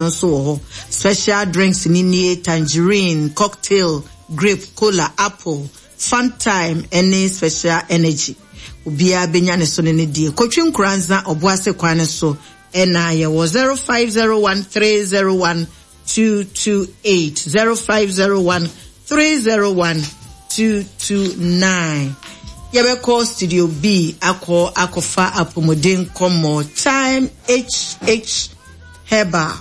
Nso wɔ hɔ. Special drinks no nie, tangerine, cocktail, grape, cola, apple, funtime ne special energy. Obiara bɛnya ne so ne ne deɛ. Kotwi Nkoranza, Ɔboase kwan no so na yɛwɔ 0501 301 228, 0501 301 229. Yɛbɛkɔ Studio B akɔ akɔfa apɔmuden nkɔmmɔ. Time HH. Herbal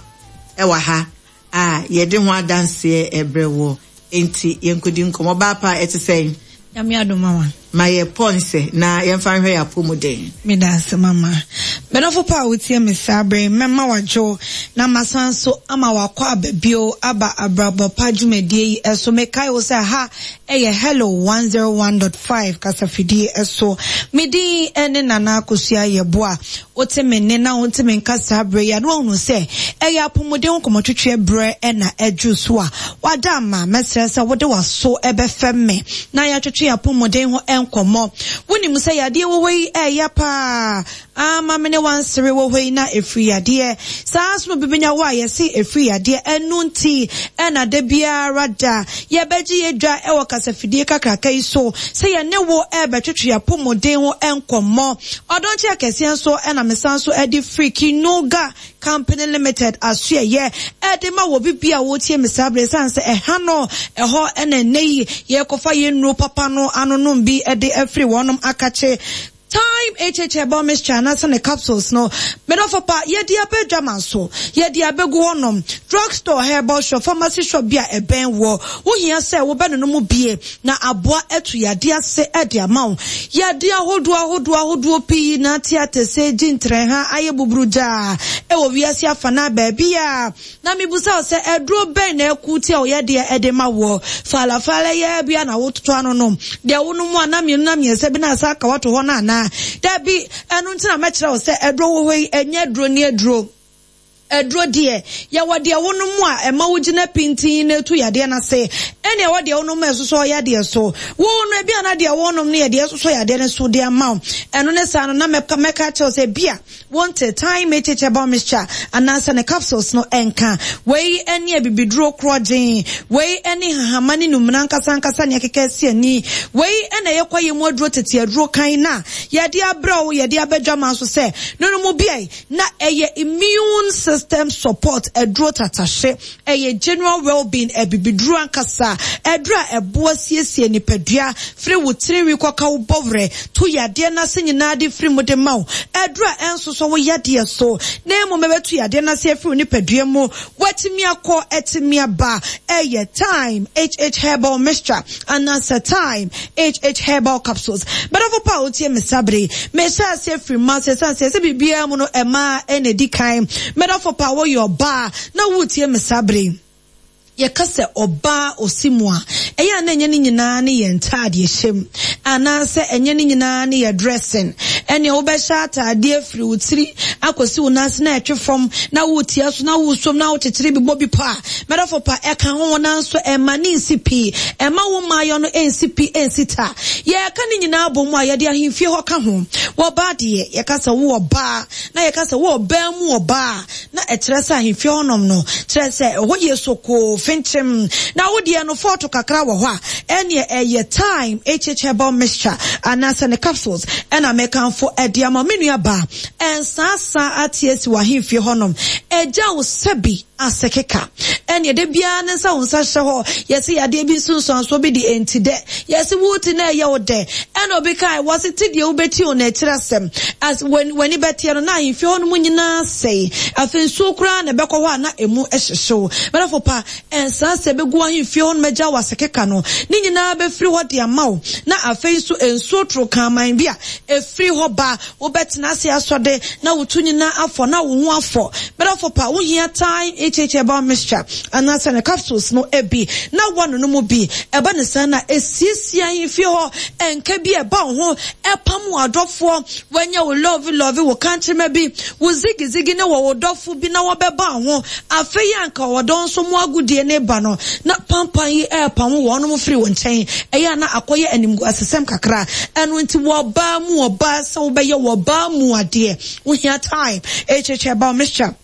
wɔ ha a yɛde ho adanseɛ rebrɛ woɔ. Enti yɛnkɔdi nkɔmmɔ. Ɔbaa pa, ɛte sɛn? Nyame adom mama. Ma yɛ pɔnsɛ na yɛmfa nhwɛ yɛn apɔmuden. Meda ase mama. Medɔfo pa a wotie me saa bere yi, mɛma wadwo na masan nso ama wakɔ aba bio aba abrabɔ pa dwumadie yi so. Mekae wo sɛ ha yɛ Hello 101.5 kasafidie so. Me din ne Nana Akosua Yeboah. Wote me nne na wonte me nka saa berɛ yi a, na woahunu sɛ ɛyɛ apɔmuden ho nkɔmmɔtwetweɛ berɛ na aduru so a wada ama. Mɛsrɛ sɛ wode w'aso bɛfɛm me na yɛatwetwe yɛn apɔmuden ho nkɔmmɔ. Wonim sɛ yadeɛ wɔ hɔ yi ɛɛya paa ama me ne wansere wɔ hɔ yi na ɛfiri yadeɛ. Saa ara nso na obi bɛnya wo a yɛse ɛfiri yadeɛ. Ɛno nti na da biara da yɛbɛgye yɛn dwa wɔ kasafidie kakraka yi so sɛ yɛne wo rebɛtwetwe yɛn apɔmuden ho nkɔmmɔ. Ɔdɔnkye akɛseɛ nso na mesan nso de firi Kinuga Company Limited asoɛeɛ de ma wɔ bibia a woretie me saa berɛ ɛsiane sɛ ɛha no ɛhɔ na ɛnnɛ yi yɛrekɔfa yɛn nnuro papa no anonom bi de afiri wɔnom akakye Thyme HH Herbal Mixture anaasɛ ne capsules no. Me dɔfo pa, yɛde aba adwaman so, yɛde abɛgu hɔnom, drug store, herbal shop, pharmacy shop bi a ɛbɛn woɔ. Wohia sɛ wobɛnonom bie na aboa atu yadeɛ ase de ama wo. Yadeɛ ahodoɔ ahodoɔ ahodoɔ pii na ate atɛsɛ, gyi ntrɛha, ayɛ buburugyaa wɔ wiase afanaa baabiara. Na mebisa wo sɛ, aduro bɛn na ɛko tia wo yadeɛ de ma woɔ? Falafala yi ara bi a na wototɔ ano nom? Deɛ wonom a na mmienu na mmiɛnsa bi na asa aka woato hɔ no anaa? Dabi, ɛno nti na mɛkyerɛ wo sɛ aduro wɔ hɔ yi, ɛnyɛ aduro ne aduro. Aduro deɛ, yɛwɔ deɛ wonom a ɛma wogyina pintinn na ɛtu yadeɛ no ase, ɛne ɛwɔ deɛ wonom a ɛsosɔ yadeɛ so. Wo no, ebia na deɛ wonom no yɛ deɛ ɛsosɔ yadeɛ no so de ama wo. Ɛno ne saa no, na mɛka akyerɛ wo sɛ ebia Wonte Thyme HH Herbal Mixture anaasɛ ne capsules no nka. Wei ne abibiduro korɔgyenn. Wei ne hahama ne numena ankasa ankasa nea ɛkeka asi ani. Wei na ɛyɛ kwaeɛ mu aduro tete aduro kann no a yɛde abrɛ wo, yɛde aba dwaman so sɛ no no mu biae na ɛyɛ immune system support aduro tatahye. Ɛyɛ general well-being abibiduro ankasa, aduro a ɛboa siesie nipadua firi wo tirinwi kɔka wo bɔwerɛ to yadeɛ no ase nyinaa de firi mu de ma wo, aduro a ɛnsosɔ wo yadeɛ so na mmom ɛbɛto yadeɛ no ase afiri wo nipadua mu, woatumi akɔ atumi aba. Ɛyɛ Thyme HH Herbal Mixture anaasɛ Thyme HH Herbal Capsules. M'adɔfo pa a wotie me saa bere yi, mehyɛ aseɛ firi mma ase ɛsiane sɛ ɛsɛ biribiara mu no mmaa na ɛdi kan. M'adɔfo pa, woyɛ ɔbaa na woretie me saa bere yi. Yɛka sɛ ɔbaa ɔsi mu a, ɛyɛ a na ɛnyɛ ne nyinaa ne yɛn ntaadeɛhyɛ mu, anaasɛ ɛnyɛ ne nyinaa ne yɛn dressing. Ɛnneɛ wobɛhyɛ ataadeɛ firi wo tiri akɔsi wo nan ase na ɛtwe fam, na woretia so, na woresom, na wokyekyere bi bɔ bi pɔ a, m'adɔfo pa, ɛka ho, nanso ɛmma no nsi pi. Ɛmma wo mmaayɔ no nsi pi nsi ta. Yɛreka ne nyinaa bɔ mu a, yɛde ahemfie hɔ ka ho. Wɔ ɔbaa deɛ, yɛka sɛ wo ɔbaa, na yɛka sɛ wo ɔbaa mu ɔbaa a, na ɛkyerɛ sɛ ahemfie hɔnom no, kyerɛ sɛ ɛhɔ yɛ sokoo, fenkyem, na wo deɛ no fɔɔto kakra wɔ hɔ a, ɛnneɛ ɛyɛ Thyme HH Herbal Mixture anaasɛ ne capsules ɛna mekamfo de ama wo. Me nua baa, ɛnsaasaa ate asi wɔ ahemfie hɔnom, ɛgya wo sɛbi ase keka. Ɛnneɛ da biara ne nsa wo nsa hyɛ hɔ, yɛse yadeɛ bi nsunsuansoɔ bi de ɛnti dɛ, yɛse wo ti na ɛyɛ wo dɛ, ɛna obi kae, wɔse ti deɛ wobɛti o na akyiri asɛm, as w'ani bɛteɛ no na ahemfie hɔ nom nyinaa asɛe, afei nsuo koraa na ɛbɛkɔ hɔ a na ɛmu hyehye wo. M'adɔfo pa, ɛnsaa sɛ ɛbɛgu w'ahemfie hɔ nom agya wo ase keka no, ne nyinaa bɛfiri hɔ de ama wo, na afei nso nsuo toro kraman bi a ɛfiri hɔ ba. Wobɛtena ase asɔ de, na wo to nyinaa afɔ, na wo ho afɔ. M'adɔfo pa, wohia Thyme HH Herbal Mixture anaasɛ ne capsules no bi na woanonom mu bi. Ɛba no saa na esiesie ahemfie hɔ, ɛnka bi a ɛba wo ho, ɛpam wo adɔfoɔ, woanya wo love love, wo kankyerema bi, wo zigi zigi ne wɔ wo dɔfo bi na wɔbɛba wo ho. Afei anka ɔdɔ nso mo agodie no reba no, na pampan yi repamo wɔnom firi wo nkyɛn. Ɛyɛ a na akɔyɛ animguasesɛm kakra. Ɛno nti wɔ ɔbaa mu ɔbaa sɛ wobɛyɛ wɔ ɔbaa mu adeɛ, wohia time, HH herbal mixture.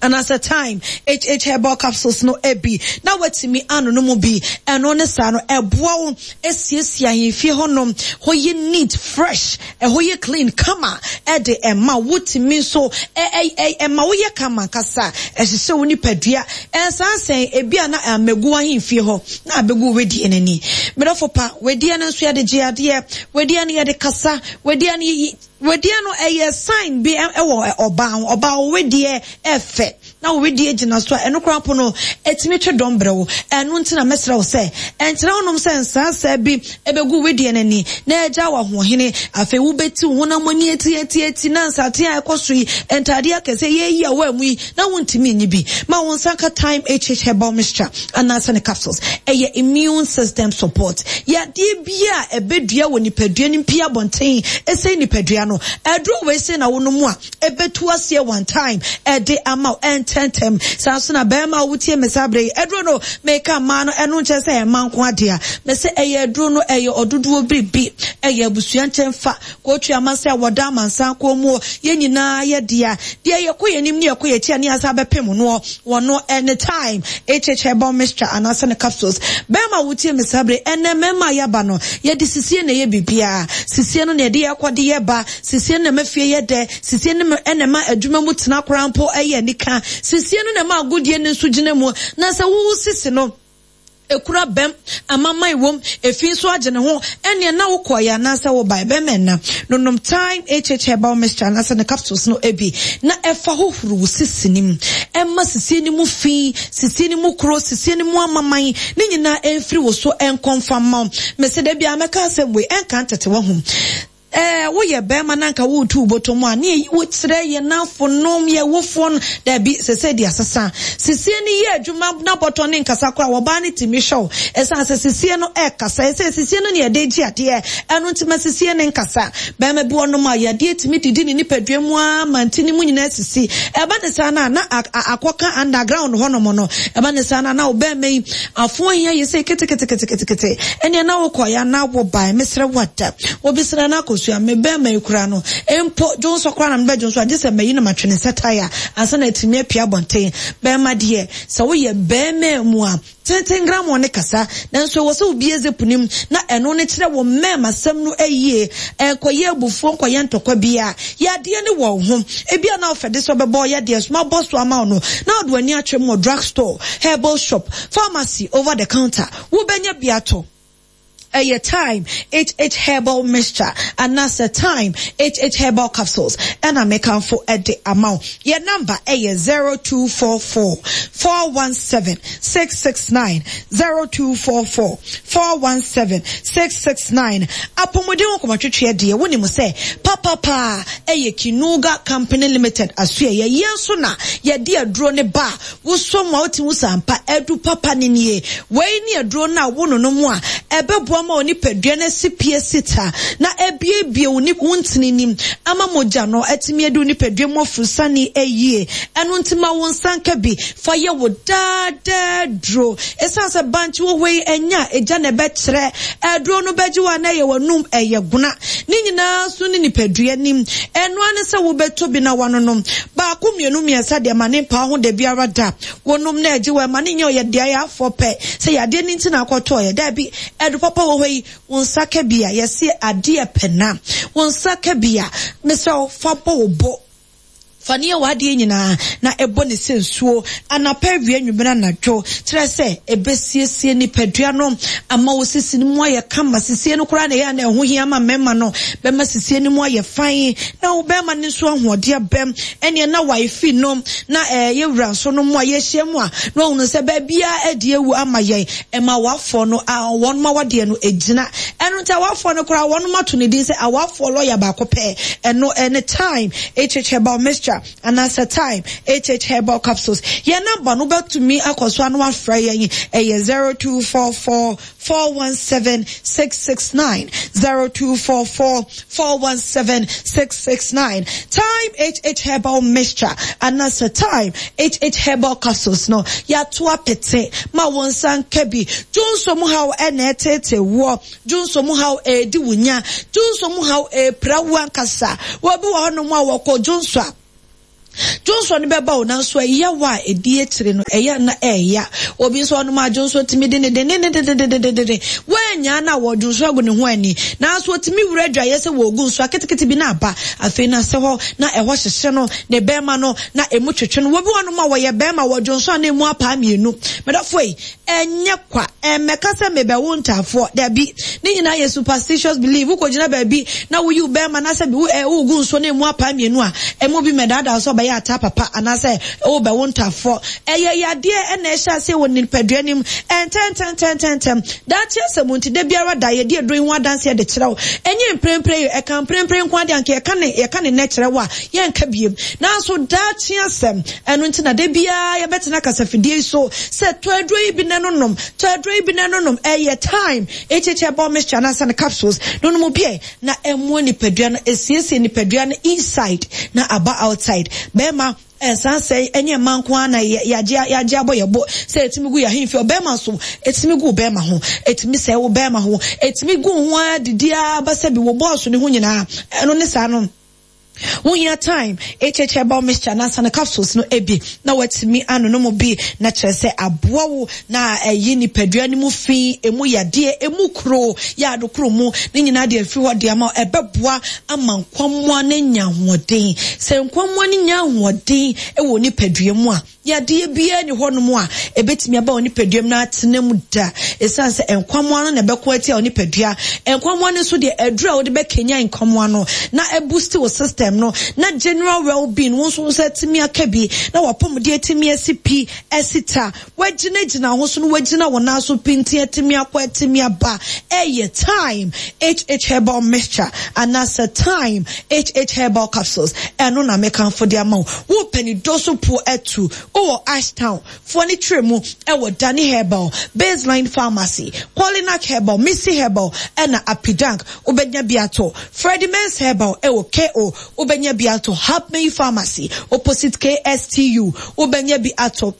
anaasɛ Thyme HH Herbal Capsules no bi na woatumi anonom bi. Ɛno ne saa no, ɛboa wo siesie ahemfie hɔnom, hɔ yɛ neat, fresh, ɛhɔ yɛ clean, kama de ɛma wo. Wotumi nso ɛma woyɛ kama ankasa, ɛhyehyɛ wo nipadua. Ɛnsan sɛn ebi a na ammɛgu w'ahemfie hɔ na abɛgu wo wedeɛ no ani. Me dɔfo pa, wedeɛ no nso yɛde gye adeɛ, wedeɛ no yɛde kasa, wedeɛ no Wedeɛ no ɛyɛ sign bi wɔ ɔbaa ho, ɔbaa wo wedeɛ ɛfɛ na wo wedeɛ gyina so a ɛno koraa mpo no ɛtumi twe dɔm brɛ wo. Ɛno nti na mɛsrɛ wo sɛ ɛnkyerɛ wo nom sɛ nsaansaa bi ɛbɛgu wo wedeɛ no ani na agya wo ahoɔhene. Afei wobɛti wo honam ani atiatiati na nsateaa a ɛkɔ so yi, ntaadeɛ akɛseɛ yɛyi a woammu yi na wontumi nyi bi. Ma wo nsa nka Thyme HH Herbal Mixture anaasɛ ne capsules. Ɛyɛ immune system support. Yadeɛ biara a ɛbɛdua wɔ nipadua no mpue abɔnten ɛsɛe nipadua no. Aduro wei sei na wonom a, ɛbɛtu aseɛ one time ɛde ama wo ɛntɛntɛm. Saa nso na barima a wotie me saa berɛ yi, aduro no meka mmaa no, ɛno nkyerɛ sɛ ɛyɛ mmaa nko adea. Mese ɛyɛ aduro no, ɛyɛ ɔdodoɔ biribi, ɛyɛ abusua nkyɛnfa. Kootu ama sɛ wɔda amansan kɔn mu o, yɛn nyinaa yɛ dea. Deɛ yɛkɔ yɛn anim ne yɛkɔ yɛn akyi a ne yɛasan abɛpem noɔ, wɔno ɛne Thyme, HH Herbal Mixture anaasɛ ne capsules. Bɛɛma a wotie me saa bere yi, ɛnnɛ mmarima a yɛaba no, yɛde sisie na ɛyɛ biribiara. Sisie no na yɛde yɛkɔ de yɛba, sisie no na ɛma fie yɛ dɛ, sisie no na ɛma adwuma mu tena koraa mpo yɛ anika, sisie no na ɛma agodie no nso gyina mu. Na sɛ wo sisi no, Ekura bɛm, amaman wom, efi nso agye ne ho, ɛneɛ na wokɔeɛ anaasɛ wobaeɛ, bɛrima ɛna no nom Thyme HH Herbal Mixture anaasɛ ne capsules no bi na ɛfa hohoro wo sisi no mu, ɛma sisie no mu fi, sisie no mu kuro, sisie no mu amaman, ne nyinaa ɛmfiri wo so ɛnkɔ mfa mma wo. Mese da biara mɛka asɛm wei, ɛnka ntete wahu. Ɛɛ, woyɛ barima na anka woretu wo bɔtɔ mu a, ne yɛyi wo kyerɛ yɛn nnamfonom, yɛn awofoɔ no. Dabi, seesei deɛ asesa. Sisie no yɛ adwuma na bɔtɔ no nkasa koraa, ɔbaa no tumi hwɛ wo. Ɛsiane sɛ sisie no rekasa. Ɛsɛ sisie no na yɛde gye adeɛ. Ɛno nti ma sisie no nkasa. Barima bi wɔ hɔnom a, yadeɛ tumi didi ne nipadua mu ara ma ntini mu nyinaa sisi. Ɛba ne saa no a, na akɔka underground hɔnom no. Ɛba ne saa no a, na wo barima yi Afo ahia yɛ sei keteketeketekete ɛneɛ na wo kɔeɛ anaa wo baeɛ mesrɛ wo ada obi srɛ no akosua me bɛɛma yi koraa no mpo dwonsɔ koraa na me bɛ dwonsɔ a gye sɛ mayi na matwe ne nsa tae a ansa na atumi apue abɔnten bɛɛma deɛ sɛ woyɛ bɛɛma mu a tenten gramoo ne kasa nanso ɛwɔ sɛ wobie zip no mu na ɛno ne kyerɛ wo mmɛɛma sɛm no ayie ɛnkɔyɛ abufuo nkɔyɛ ntɔkwa biara Yadeɛ ne wɔ wo ho. Ebia na wofɛ de sɛ ɔbɛbɔ yadeɛ so mabɔ so ama wo no, na wode w'ani atwam wɔ drug store, herbal shop, pharmacy, over the counter. Wobɛnya bi atɔ. Ɛyɛ Thyme HH Herbal Mixture anaasɛ Thyme HH Herbal Capsules ɛna mekamfo de ama wo. Yɛn number ɛyɛ 0244 417 669, 0244 417 669 Apɔmuden ho nkɔmmɔtwetweɛ deɛ wonim sɛ papapa ɛyɛ Kinuga Company Limited asoɛeɛ. Yɛn nso na yɛde aduro no ba a wosɔ mu a wote hu sɛ ampa adu papa no nie. Wei ne aduro no a wononom a ɛbɛboa ma wo nipadua no asi pi asi ta na abuebue wo wo ntini nim ama mogya no atumi adi wo nipadua mu afurusane yie. Ɛno nti ma wo nsa nka bi Fa yɛ wo daa daa duro. Esiane sɛ bankye wɔ hɔ yi, ɛnyɛ a egya na ɛbɛkyerɛ. Aduro no bɛgye wo a na ɛyɛ w'anum, ɛyɛ gona. Ne nyinaa nso ne nipadua nim. Ɛno ara ne sɛ wobɛtɔ bi na woanonom. Baako, mmienu, mmiɛnsa deɛ ma ne mpa wo ho da biara da. Wonom na ɛgye wo a, ɛma no nyɛ ɔyɛ deɛ ayɛ afɔ pɛ sɛ yadeɛ no nti na akɔtɔeɛ. Daabi, aduro papa wɔ hɔ yi, wo nsa ka bi a, yɛse adeɛ pɛ na. Wo nsa ka bi a, mesrɛ wo, fa bɔ wo bo. Fa no yɛ w'adeɛ nyinaa, na bɔ no sɛ nsuo, anapa, awia, anwummerɛ, anadwo. Kyerɛ sɛ, ɛbɛsiesie nipadua no ama wo sisi no mu ayɛ kama. Sisie no koraa na ɛyɛ a na ɛho hia ma mmarima no. Bɛma sisie no mu ayɛ fann, na wo barima no nso ahoɔden abam. Ɛnneɛ na wifi no, na ɛyɛ wura nso no mu a yɛhyia mu a, na wahunu sɛ baabiara adi awu ama yɛn. Ɛma awafoɔ no a wɔn awadeɛ no gyina. Ɛno nti awafoɔ no koraa wɔn ato ne din sɛ awafoɔ lɔya baako pɛ. Ɛno ɛne Thyme HH Herbal Mixture anaasɛ Thyme HH Herbal Capsules. Yɛn namba no wobɛtumi akɔ so ano afrɛ yɛn. Ɛyɛ 0244 417 669, 0244 417 669. Thyme HH Herbal Mixture anaasɛ Thyme HH Herbal Capsules no, yɛato apete ma wo nsa nka bi. Dwonsɔ mu haw na ɛreteetee woɔ, dwonsɔ mu haw redi wo nya, dwonsɔ mu haw repira wo ankasa. Obi wɔ hɔnom a wɔkɔ dwonsɔ a, Dwonsɔ no bɛba o, nanso ɛyaw a ɛdi akyire no, ɛyɛ a na ɛya. Obi nso ɔnom a dwonsɔ tumi de ne dendendendendenden. Woannyaa no a wɔdwonsɔ agu ne ho anni. Nanso ɔtumi wura adwaeɛ sɛ wɔregu nsuo a ketekete bi na aba. Afei na sɛ hɔ na ɛhɔ hyehye no, ne bɛrima no, na ɛmu twetwe no. Obi wɔ hɔnom a wɔyɛ bɛrima, wɔdwonsɔ a na ɛmu apaa mmienu. Medɔfoɔ ei, Ɛnyɛ kwa. Ɛmmɛka sɛ mebɛwo ntaafoɔ. Dabi. Ne nyinaa yɛ superstitious belief. Wokɔgyina baabi na woyi wo bɛrima na sɛ bi wo ɛ wogu nsuo na emu apae mmienu a, ɛmu bi mmɛdaadaa wo sɛ ɔbɛyɛ ataa papa anaasɛ wobɛwo ntaafoɔ. Ɛyɛ yadeɛ na ɛhyɛ aseɛ wɔ nipadua no mu ntɛntɛntɛntɛntɛm. Daakye asɛm nti, da biara da yɛdi aduro yi ho adanseɛ de kyerɛ wo. Ɛnyɛ mprempren yi, ɛka mprempren nko ara deɛ anka yɛka ne yɛka ne nnɛ kyerɛ wo a, yɛnka biem. Nanso daakye asɛm, ɛno nti na da biara yɛbɛtena kasafidie yi so sɛ tɔ aduro yi bi na no nom, tɔ aduro yi bi na no nom. Ɛyɛ thyme, HH herbal mixture anaasɛ ne capsules no nom bi ɛ na ɛmmoa nipadua no, ɛsiesie nipadua no inside na aba outside. Bɛrima ɛnsan sɛe, ɛnyɛ mmaa nko ara na yɛagye yɛagye abɔ yɛn bo sɛ ɛtumi gu yɛn ahemfie, ɔbɛrima nso ɛtumi gu wo bɛrima ho, ɛtumi sɛe wo bɛrima ho, ɛtumi gu wo ho ara didi ara ba sɛ bi wo bɔɔso ne ho nyinaa, ɛno ne saa no. Wohia thyme, HH herbal mixture anaasɛ ne capsules no bi na woatumi anonom bi na kyerɛ sɛ aboa wo na ayi nipadua no mu fi, emu yadeɛ, emu kuro, yaado koro mu ne nyinaa de afiri hɔ de ama wo. Ɛbɛboa ama nkwammoa no anya ahoɔden. Sɛ nkwammoa no nya ahoɔden wɔ nipadua mu a, Yadeɛ biara nni hɔnom a ɛbɛtumi aba wo nipadua mu na atena mu da. Ɛsiane sɛ nkwammoa no na ɛbɛko atia wo nipadua. Nkwammoa no nso deɛ, aduru a wode bɛkanyan nkwammoa no na abusti wo system no na general well-being, wo nso wo nsa atumi aka bi na w'apɔmuden atumi asi pi, asi ta, woagyinagyina wo ho so na woagyina wo nan so pintinn atumi akɔ atumi aba. Ɛyɛ Thyme HH Herbal Mixture anaasɛ Thyme HH Herbal Capsules. Ɛno na mekamfo de ama wo. Wo pɛ ne dɔ so po atu wɔ Ashtown foɔ ne tire mu wɔ Danny Herbal, Baseline Pharmacy, Qualinac Herbal, Missy Herbal ɛna Apidank wobɛnya bi atɔ. Freddie Mens Herbal ɛwɔ KO wobɛnya bi atɔ. Hubmey Pharmacy opposite KSTU wobɛnya bi atɔ.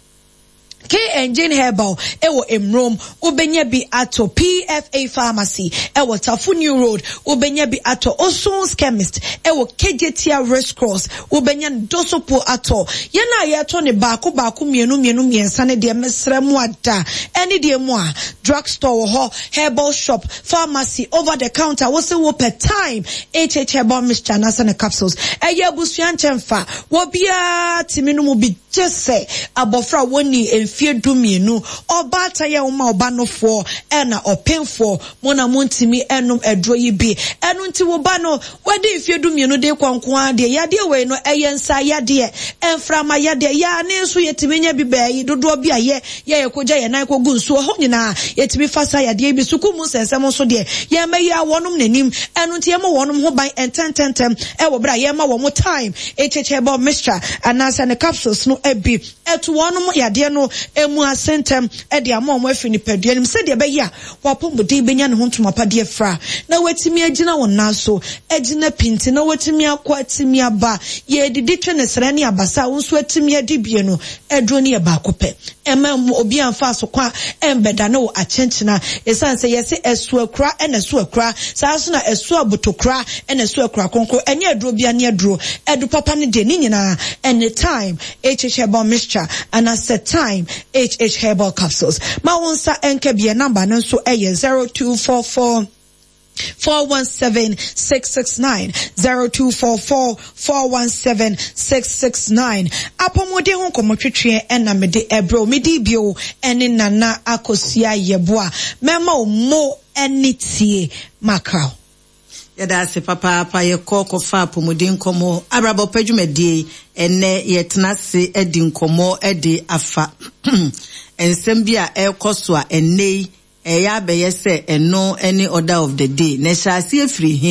K and Jane Herbal wɔ Mmrom, wobɛnya bi atɔ. PFA Pharmacy wɔ Tafo New Road, wobɛnya bi atɔ. Oson's Chemist wɔ Kejetia Race Cross, wobɛnya no Dosopo atɔ. Yɛn a yɛtɔ no baako baako, mmienu mmienu, mmiɛnsa no deɛ, mesrɛ mo ada. Ɛne deɛ mu a, drug store wɔ hɔ, herbal shop, pharmacy, over the counter, wose wopɛ Thyme HH Herbal Mixture anaasɛ ne capsules. Ɛyɛ abusua nkyɛnfa, obiara tumi nom bi. Gye sɛ abɔfra a wɔnnii mfeɛ dumienu, ɔbaatan a woma ɔba nofoɔ, ɛna ɔpemfoɔ, mo na montumi nnom aduro yi bi. Ɛno nti wo ba no, wadi mfeɛ dumienu de rekɔ nko ara deɛ, yadeɛ wei no, ɛyɛ nsa yadeɛ, mframa yadeɛ, yaane nso yɛtumi nya bi bɛɛ dodoɔ bi a yɛ, yɛ yɛkɔgya yɛn nan kɔgu nsuo hɔ nyinaa, yɛtumi fa saa yadeɛ yi bi. Sukuu mu nsɛnsɛm nso deɛ, yɛmmɛyɛ wɔnom n'anim. Ɛno nti yɛmmɔ wɔnom ho ban ntɛntɛntɛm wɔ berɛ a yɛrema wɔn time. Ekyekyɛbɔ mixture anaasɛ ne capsules no bi to wɔnom yadeɛ no mu ase ntɛm de ama wɔn afiri nipadua no mu sɛdeɛ ɛbɛyɛ a w'apɔmuden bɛnya ne ho ntoma pa de afira na watumi agyina wo nan so agyina pintinn na watumi akɔ atumi aba. Yɛredidi twe ne srɛ ne abasa a wo nso atumi adi bie no, aduro no yɛ baako pɛ. Mma obiara mfa asokwa mmbɛdane wo akyenkyena. Esiane sɛ yɛse ɛso akura na ɛso akura, saa ara nso na ɛso abotokura na ɛso akura kronkron. Ɛnyɛ aduro biara ne aduro. Aduru papa no deɛ, ne nyinaa ɛne Thyme HH Herbal Mixture anaasɛ Thyme HH Herbal Capsules. Ma wo nsa nka bi. Yɛn namba no nso yɛ 0244. 417 669 0244 417 669 Apɔmuden ho nkɔmmɔtwetweɛ ɛna mede ɛbrɛ wo. Medi bio ɛne Nana Akosua Yeboah. Mɛma wo mo ɛne tie makra. Yɛda ase papaapa yɛkɔ kɔfa apɔmuden nkɔmmɔ abrabɔ pa dwumadie yi ɛnɛ yɛtena ase adi nkɔmmɔ de afa nsɛm bi a ɛrekɔ so a ɛnɛ yi Ɛreyɛ abɛyɛ sɛ ɛno ne order of the day, na ɛhyɛ aseɛ firi he?